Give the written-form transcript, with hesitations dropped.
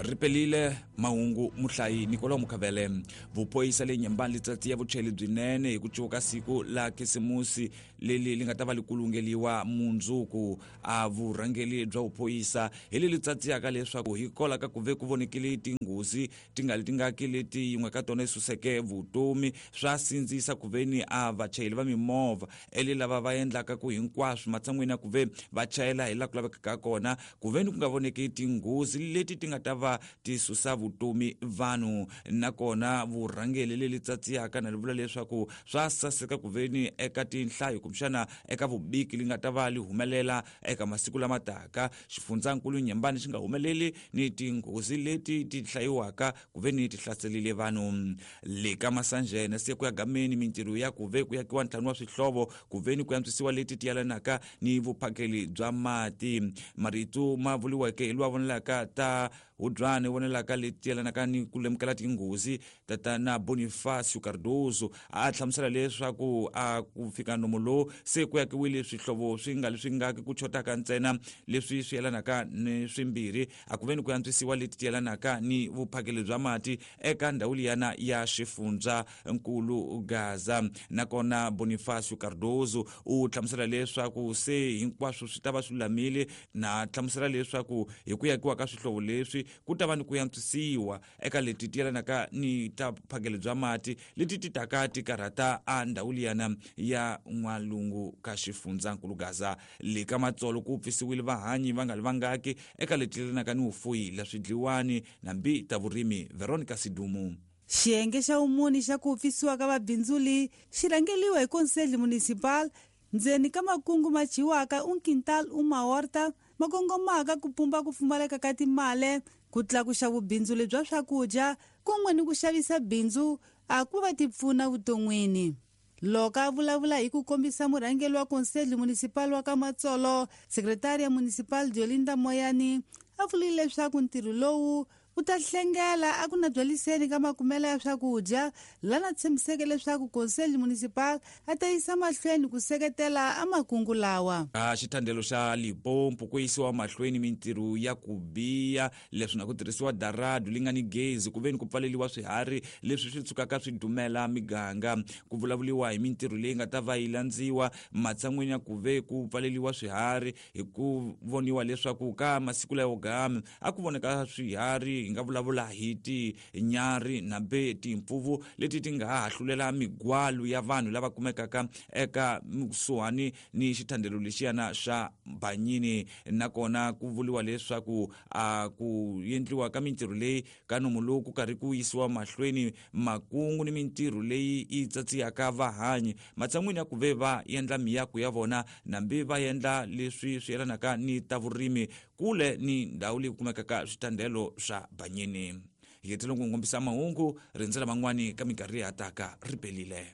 Ripelile mahungu muhlayi Nikolo Mukhavele. Vuphoyisa le Nyembani litsatsi ya vucheli byinene hi ku cuka siku la Khisimusi leli li nga ta va li kulungeliwa mundzuku. A vurhangeli bya vuphoyisa hi leli tsatsiyaka leswaku hi kola ka ku ve ku vonekile tinghozi ti nga li tingaki leti yin'we ka tona yi suseke vutomi. Swa sindzisa ku veni a vachayeri va mimovha ele lava va endlaka ku hinkwaswo matshan'wini ya ku ve va chayela hi laha ku lavekaka kona, ku veni ku nga voneki tinghozi leti ti nga ta va ti susa vutomi vanhu. Nakona vurhangeli leli tsatsiyaka na li vula leswaku swa saseka ku veni eka tinhlayo kumbexana eka vubiki li nga ta va li humelela eka masiku lama taka, xifundzankulu Nyembani xi nga humeleli ni tinghozi leti ti hlayiwaka ku veni ti hlaselile vanhu. Le ka Masanjene se ku ya gameni mintirho ya ku ve ku yakiwa ntlhanu wa swihlovo ku veni ku antswisiwa leti ti yelanaka ni vuphakeli bya mati. Marito ma vuriweke hi lowa vonelaka ta Hubyane vonelaka leti yelanaka ni ku lemukela tinghozi, tatana Bonifacio Cardoso, a hlamusela leswaku a ku fika nomo lowu se ku yakiwile swihlovo swi nga leswi nga ku chotaka ntsena leswi swi yelanaka ni swimbirhi, a ku veni ku antswisiwa leti ti yelanaka ni vuphakeli bya mati eka ndhawu liyana ya xifundza nkulu Gaza. Nakona Bonifacio Cardoso u hlamusela leswaku se hinkwaswo swi ta va swi lulamile, na hlamusela leswaku hi ku yakiwa ka swihlovo leswi ku ta va ni ku antswisiwa eka leti ti yelanaka ni ta phakelo bya mati leti ti taka ti karhata a ndhawu liyana ya n'walungu ka xifundzankulu Gaza. Le ka Matsolo ku pfisiwile vahanyi va nga li vangaki eka leti yelanaka ni vufuyi la swidliwani nambi ta vurimi. Veronica Sidumu. Xiyenge xa vumune xa ku pfisiwa ka vabindzuli xi rhangeliwa hi Conselho Municipal ndzeni ka makungu ma dyiwaka un quintal uma horta ma kongomaka ku pumba ku pfumaleka ka timale, ku tlakuxa vubindzuli bya swakudya kun'we ni ku xavisa bindzu a ku va ti pfuna vuton'wini. Loko a vulavula hi ku kombisa murhangeri wa Conselho Municipal wa ka Matsolo, Secretaria Municipal Diolinda Moyani a vurile leswaku ntirho lowu wu ta hlengela a ku na byaliseni ka makumelo ya swakudya, lana tshembiseke leswaku Conselho Municipal a ta yisa mahlweni ku seketela a makungu lawa. A xithandelo xa Limpopo ku yisiwa mahlweni mintirho ya ku biya leswi na ku tirhisiwa daradu li nga ni gezi ku veni ku pfaleliwa swiharhi leswi swi tshukaka swi dumela miganga. Ku vulavuriwa hi mintirho leyi nga ta va yi landziwa matshan'wini ya ku ve ku pfaleliwa swiharhi hi ku voniwa leswaku ka masiku layo gama a ku voneka swiharhi, hi nga vulavula hi tinyarhi nambe timpfuvu leti ti nga ha hlulela migwalu ya vanhu lava kumekaka eka kusuhani ni xithandelo lexiyana xa Banyini. Nakona ku vuriwa leswaku a ku endliwa ka mintirho leyi ka nomu lowu ku karhi ku yisiwa mahlweni makungu ni mintirho leyi yi tsatsiyaka vahanyi matshan'wini ya ku ve va endla miako ya vona nambi va endla leswi swi yelanaka ni ta vurimi kule ni ndhawu leyi kumekaka switandelo swa Banyini. Hi hetile ku kombisa mahungu, rindzela man'wani ka minkarhi leyi hataka. Ri pelile.